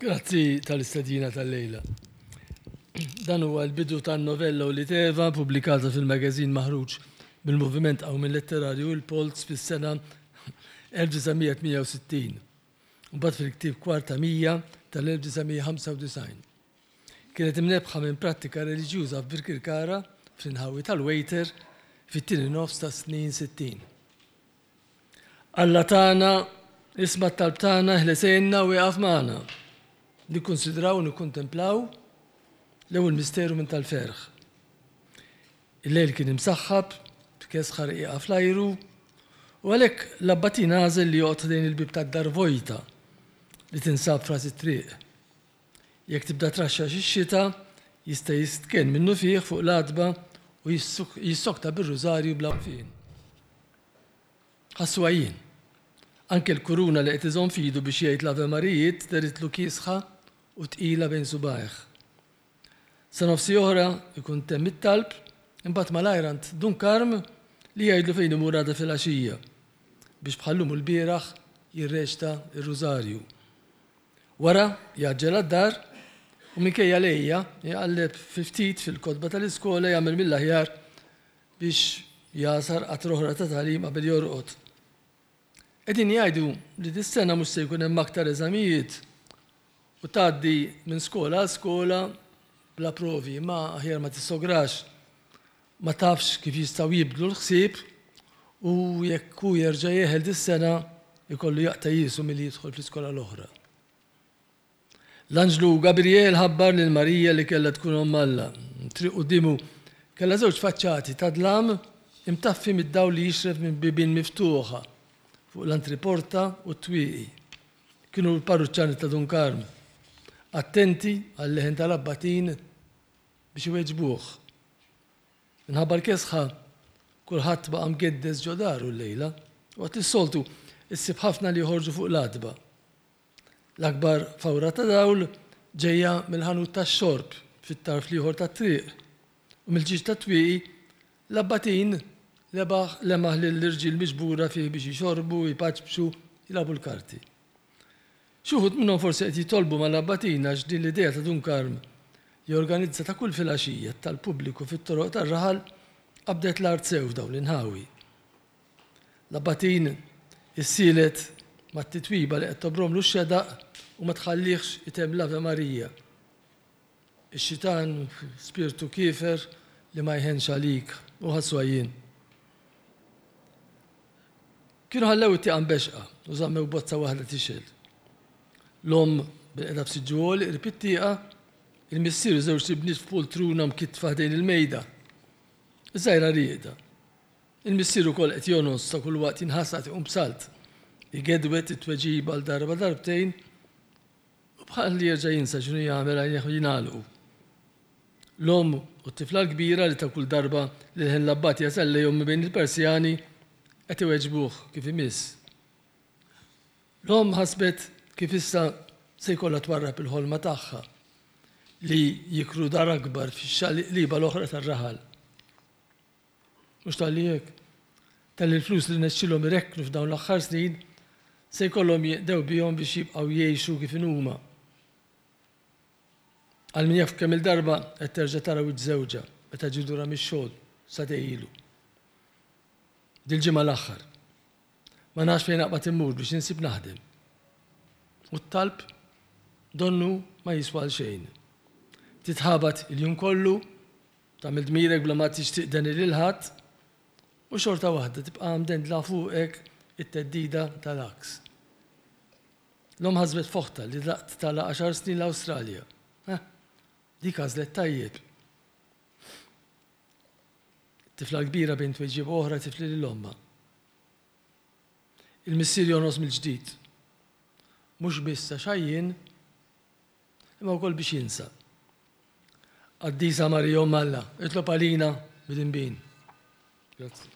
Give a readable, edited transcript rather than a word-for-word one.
Grazzi tal-istedina tal-lejla. Dan huwa l-bidu tan-novella Ulied Eva pubblikata fil-magazine maħruġ mill-Moviment Qawmien Letterarju Il-Polz fis-sena 1968. Mbagħad fil-ktieb Kwarta Mija tal-1995. Kienet imnebbħa minn prattika reliġjuża f'Birkirkara fl-inħawi tal-Wejter fit-tieni nofs tas-snin 60. Alla tagħna, isma' t-talb tagħna, eħles għinna u ieqaf magħna. Nikkunsidraw u nikkuntemplaw l-ewwel misteru minn tal-ferħ. Il-lejl kien imsaħħab, b'kesħa rqiqa fl-ajru, u għalhekk l-abbatin għażel li joqgħod ħdejn il-bieb tad-dar vojta li tinsab f'ras it-triq. Jekk tibda traxxax ix-xita, jista' jistkenn minnufih fuq l-għatba u jissokta bir-rużarju bla waqfien. Ħassu għajjien. Anke l-kuruna li qed iżomm f'idu biex jgħid l-Ave Marijiet deritlu kiesħa u tqila bejn subgħajh. Sa nofs oħra jkun temm it-talb, imbagħad malajr għand Dun Karm li jgħidlu fejn imur għada filgħaxija biex bħal-lum u lbieraħ jirreċta r-rużarju. Wara, jgħaġġel għad-dar u minkejja l-għejja, jqalleb fi ftit fil-kotba tal-iskola jagħmel mill-aħjar biex jagħsar qatra oħra ta' tagħlim qabel jorqod. Qegħdin jgħidu li dis-sena mhux se jkun hemm aktar eżamijiet u tgħaddi minn skola għal skola bla provi, imma aħjar ma tissograx. Ma tafx kif jistgħu jibdlu l-ħsieb u jekk hu jerġa' jeħel dis-sena jkollu jaqta' jiesu milli jidħol fl-iskola l-oħra. L-anġlu Gabriel ħabbar lil Marija li kellha tkun omm Alla. Triq quddiemu kellha żewġ faċċati ta' dlam imtaffi mid-dawl li jixref minn bibien miftuħa fuq l-antriporta u t-twieqi. Kienu l-parruċċani ta' Dun Karm, attenti għal-leħen tal-abbatin biex iweġbuh. Minħabba l-kesħa, kulħadd baqa' mgeddes ġo daru llejla, waqt li s-soltu issib ħafna li joħorġu fuq l-għatba. L-akbar fawra ta' dawl ġejja mill-ħanut tax-xorb fit-tarf l-ieħor tat-triq, u mill-ġieġ tat-twieqi l-abbatin lebaħ lemaħ lill-irġiel miġbura fih biex jixorbu, jpaċpċu, jilagħbu l-karti. Xi wħud minnhom forsi qed jitolbu mal-abbatin għax din l-idea ta' Dun Karm li jorganizza ta' kull filgħaxija t-talb pubbliku fit-toroq tar-raħal qabdet l-art sew f'dawn l-inħawi. L-abbatin issielet mat-titwiba li qed tobromlu x-xedaq u ma tħallihx itemm l-Ave Maria. Ix-xitan spirtu kiefer li ma jħennx għalik u ħassu għajjien. Kienu ħallew it-tieqa mbexqa u żammew bozza waħda tixgħel. L-omm bilqiegħda f'siġġu għoli qrib it-tieqa, il-missier u żewġt ibniet f'pultruna mkittfa ħdejn il-mejda. Iż-żgħira rieqda. Il-missier ukoll qed jongħos ta' kull waqt jinħasad iqum b'salt. Igedwed it-tweġiba għal darba darbtejn u bħal li jerġa' jinsa x'inhu jagħmel għajnejh jingħalqu. L-omm u t-tifla l-kbira li ta' kull darba li l-ħin l-abbat jasal lejhom minn bejn il-Persjani qed iweġbuh kif imiss. L-omm ħasbet kif issa se jkollha twarrab il-ħolma tagħha li jikru dar akbar fix-xaqliba l-oħra tar-raħal. Mhux talli hekk, talli l-flus li rnexxielhom irekknu f'dawn l-aħħar snin se jkollhom jinqdew bihom biex jibqgħu jgħixu kif inhuma. Għal min jaf kemm-il darba qed terġa' tara wiċċ żewġha meta ġie lura mix-xogħol sagħtejn ilu. Dil-ġimgħa l-aħħar. Ma nafx fejn naqbad immur biex insib naħdem. U t-talb donnu ma jiswa għal xejn. Titħabat il-jum kollu, tagħmel dmirek bla ma tixtieq deni lil ħadd, u xorta waħda tibqa' mdendla fuqek it-theddida tal-għaks. L-omm ħasbet f'oħtha li daqt tagħlaq għaxar snin l-Awstralja. Eh, dik għażlet tajjeb. Tifla kbira bejn tweġiba oħra tifli lil ommha. Il-missier jonqos mill-ġdid. Mhux biss għax għajjien, imma wkoll biex jinsa. Qaddisa Marija Omm Alla, itlob għalina midinbin. Grazzi.